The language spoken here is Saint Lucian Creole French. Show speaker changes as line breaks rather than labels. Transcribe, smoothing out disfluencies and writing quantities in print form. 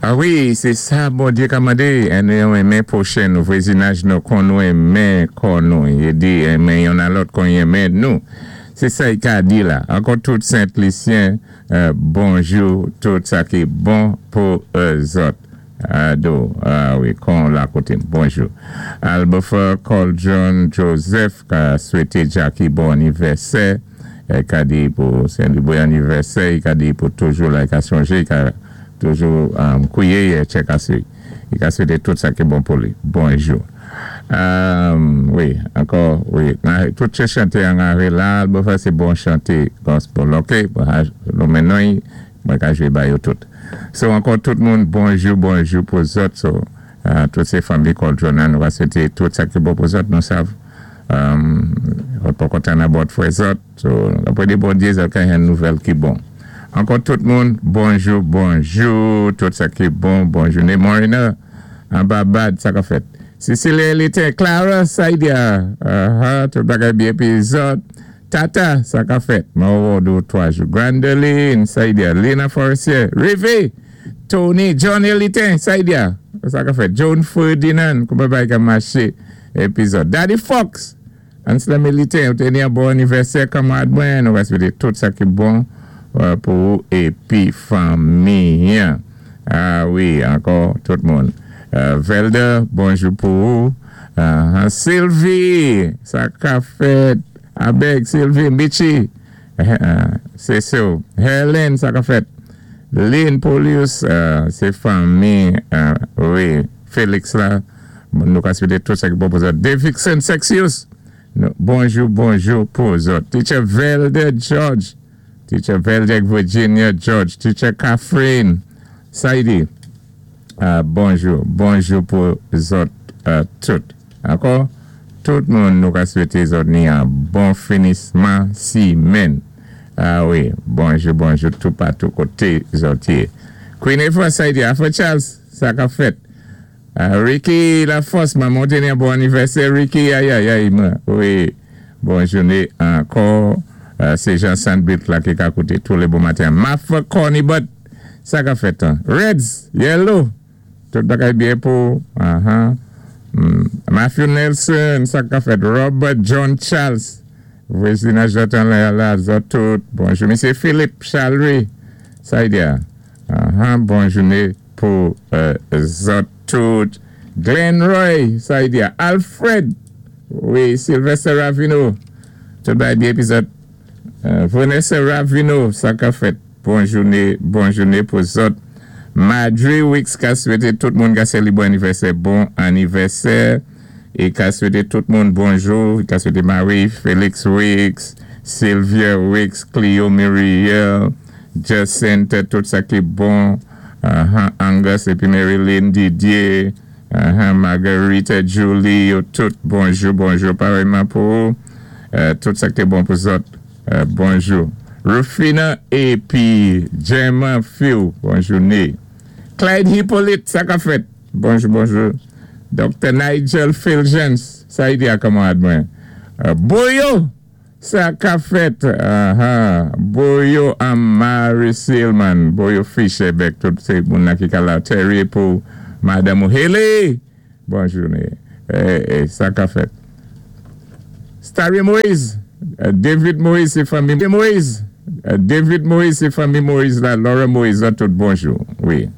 Ah wi, sé sa Bondyé ka mandé, annou enmen pwochen nou, vwazinaj nou, kon nou enmen kò nou, i di enmen youn a lòt kon i enmen nou. Sé sa i ka di la. Ankò tout Sent Lisyen, bonjou, tout sa ki bon pou zòt. Ado, ah wi, kon la koté-m. Bonjou. Albofer Coldron Joseph ka swété Jackie bon anivèsè. Ka di pou sélébwé anivèsè, i ka di pou toujou la, i ka sonjé, i ka toujou kwiyé tchèk asé. I ka swété tout sa ki bon pou li. Bonjou. Wi, ankò, wi. Tout sé chanté an are la, Albofer sé bon chanté gospel, ok? Lonmen non-y, mwen ka jwé ba yo tout. So, ankò tout moun, bonjou, bonjou pou zòt. So, tout sé fanmi Coldron an, nou va swété tout sa ki bon pou zòt, nou sav. Zòt poko tann abòt fwè zòt. So, apwé de Bondyé, zòt ka jwenn nouvèl ki bon. Ankò tout moun, bonjou, bonjou, tout sa ki bon, bon jouné. Morena, anba bad, sa ka fèt? Cecilia Elitin, Clara, Saidia, aha, tout bagay byen pi zòt. Tata, sa ka fèt? Mwen wè w 3 jou. Grandeline, Saidia, Lina Forestier, Rivé, Tony, John Elitin, Saidia, sa ka fèt? Joan Ferdinand, kouman bagay ka maché? Epizòd. Daddy Fox! Anselm Elitin, ou té ni yon bon anivèsè kanmarad mwen, nou va swété tout sa ki bon pou ou épi fanmi an. Ah wi, ankò tout moun. Velder, bonjou pou ou. Sylvie! Sa ka fèt? Abeg, Sylvie, Mitchie, sé sou. Helen, sa ka fèt? Lynn Polius, sé fanmi, wi, Felix la. Nou ka swété tout sa ki bon pou zòt. Davidson Sexius, bonjou, bonjou pou zòt. Teacher Velder George, Teacher Velder Virginia George, Teacher Catherine Saidi, bonjou, bonjou pou zòt tout. Ankò, tout moun nou ka swété zòt ni an bon finisman simèn. Ah wi, bonjou, bonjou toupatou koté zòt yé. Queen Efra Saidi, Afro Charles, sa ka fèt? Ricky La Force, manman té ni an bon anivèsè Ricky, ayayay mwen, wi, bon jouné ankò, sé Jean Sandbit la ki ka kouté tou lé bon maten. Mafra Corny Butt, sa ka fèt an? Reds, Yellow, tout bagay byen pou, aha, Matthew Nelson, sa ka fèt? Robert John Charles, vwazinaj zòt anlè a la, zòt tout, bonjou. Misye Philippe Chalry, sa y di a? Aha, bon jouné pou zòt tout. Glenn Roy, sa y di a? Alfred, wi, Sylvester Ravino, tout bagay byen pi zòt. Vanessa Ravino, sa ka fèt? Bon jouné, bon jouné pou zòt. Madry Wicks ka swété tout moun ka sélibwé anivèsè bon anivèsè é ka swété tout moun bonjou, ka swété Marie Felix Wicks, Sylvia Wicks, Cleo Muriel, Jacinthe, tout sa ki bon, Angus épi Marilyn Didier, Marguerite Julie, yo tout bonjou, bonjou parèyman pou ou, tout sa ki bon pou zòt, bonjou. Rufina épi Gemma Few, bon jouné. Clyde Hippolyte, sa ka fèt? Bonjou, bonjou. Dr. Nigel Fulgence, sa y di a kanmarad mwen? Boyo! Sa ka fèt? Aha, Boyo an Mary Silman, Boyo Fisherbeck, tout sé moun nan ki ka la. Terry pou madanm ou Haley! Bon jouné. Sa ka fèt? Starry Moise, David Moise, sé fanmi Moise, David Moise, sé fanmi Moise la, Laura Moise la tout bonjou. Wi.